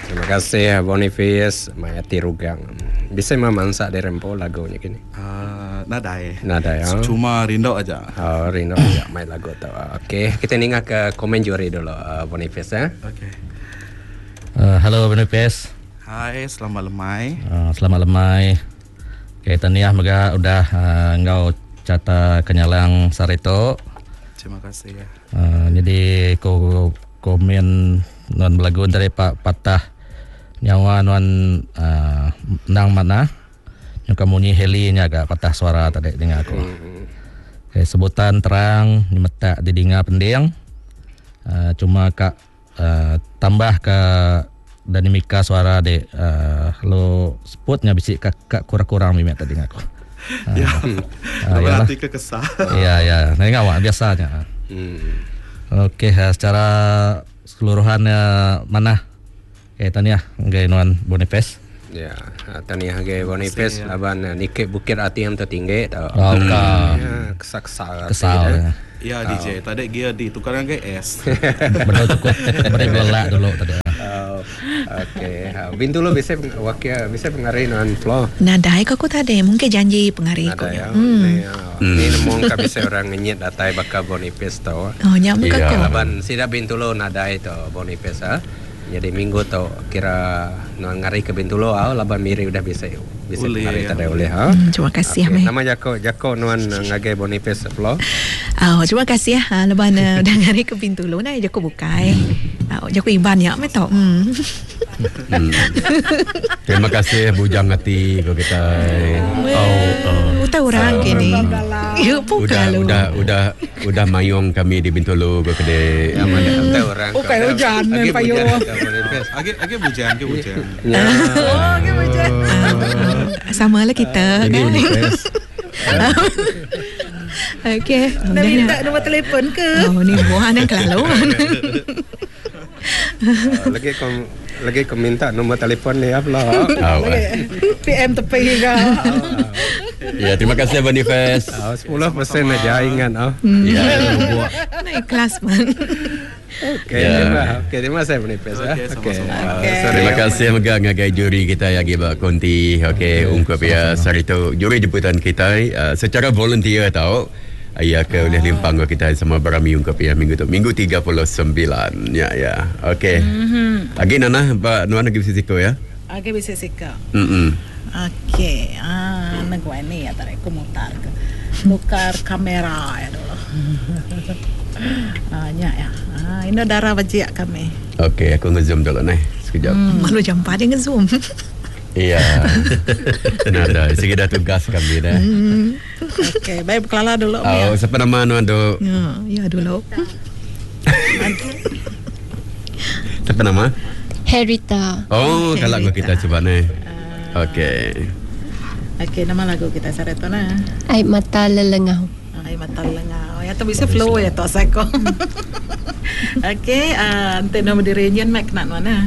Terima kasih Boniface mai ati rugang. Bisi meh mansa diri empu lagu nya kini. Uh, nadai. Nadai. Oh. Cuma rindu aja. Oh, rindu aja mai lagu tu. Okey, kita ninga ke komen juri dulu uh, Boniface eh. Okey. Uh, hello Boniface. Hai, selamat lemai. Uh, selamat lemai. Okey, tahniah mega udah uh, enggau Carta Kenyalang sehari tu. Terima kasih. Uh, jadi ko komen nuan belagu tadi pak patah nyawa nuan uh, endang manah. Nyuka munyi heli nya ga patah suara tadi dinga aku. Okay, sebutan terang nyemetak didinga pending. Uh, cuma ka uh, tambah ka dinamika suara dik uh, lalu seput nya bisi ka, ka kurang-kurang mimit tadi dinga aku. Uh, ya. Uh, Berarti ke kesal. Ya ya, nah awak biasanya. Hmm. Okey, uh, secara keseluruhannya manah. Okey, tahniah ngagai nuan Boniface. Ya, tahniah ngagai Boniface laban niki bukit ati yang tertinggi tu. Oh, ka. Ya, kesal-kesal Kesal. ati. Ya DJ, tadi gear D tukar ngagai S. Bedau cukup beri belelak dulu tadi. Oh, okey. Bintulu bisi wakil bisi pengari nuan Flo. Nadai ko aku tadi, mungkin janji pengari ko. Nadai ya. Hmm. Ni nemu ka bisi orang ngenyit datai baka Boniface tu. Oh, nya mega ko. Laban sida Bintulu nadai tu Boniface ah. Nyadi minggu tu kira nuan ngari ke Bintulu au laban Miri udah bisi bisi pengari tadai ulih ha. Terima kasih okay. meh. Nama jako jako nuan ngagai Boniface Flo? Oh, terima kasih laban udah ngari ke Bintulu nai jako bukai. Oh, jako Iban nya meh tu. Hmm. Hmm. Terima kasih bujang ati ko kitai. Oh, oh. Utai orang kini. Ya, udah, udah udah udah mayung kami di Bintulu ko kede. Ya, mana utai orang. Ukai hujan Agi payung. Agi agi bujang, agi bujang. Ya. Oh, agi bujang. Sama lah kita Ini kan. Boniface. Okey. Nak minta nombor telefon ke? Oh, ni buah ni kelalu. Lagi kau lagi kau minta nombor telefon ni apa lah. Oh, PM tepi ke. Ya, terima kasih Boniface. Oh, 10% aja ingat oh. Ya. Nak ikhlas man. Okey, Ya. terima. Okey, terima kasih Boniface ya. Okey, sama-sama. Okey. Sorry. Terima kasih mega ngagai juri kita yang ba konti. Okey, ungkup ya sehari tu juri jemputan kita uh, secara volunteer tau. Ya ke oleh limpang ke kita sama berami ungkup ya minggu tu. Minggu 39. Ya ya. Okey. Mm-hmm. Lagi Nana ba nuan lagi sisiko ya. Okey, bisa sikap. Mm. Okey, ah, nak gua ni ya tarik aku mutar ke. Tukar kamera ya dulu. ah, nya ya. Ah, ini darah wajik kami. Okey, aku nge-zoom dulu nih sekejap. Malu jampa dia nge-zoom. Iya. Nada, sige dah tugas kami dah. Okey, baik berkelala dulu. Oh, Oh. siapa nama nuan tu? Ya, ya dulu. Siapa nama? Herita. Oh, kalau gua kita cuba nih. Okey. Okey, nama lagu kita Saretona. Air mata lelengau. Ay, mata lengau. Ya tu bisa flow ya tu sako. Okey, ah, ante nama diri nyen mic nak mana?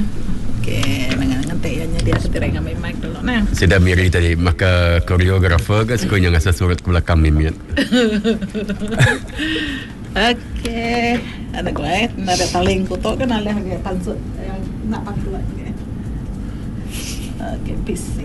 Okey, dengan nganti ya dia ketira ngambil mic dulu nah. Sudah Miri tadi maka koreografer ke sekunya ngasa surat ke belakang mimit. Okey, ada gue, ada taling kutuk kan alih lagi pansut yang nak pakai lagi. Okey, PC.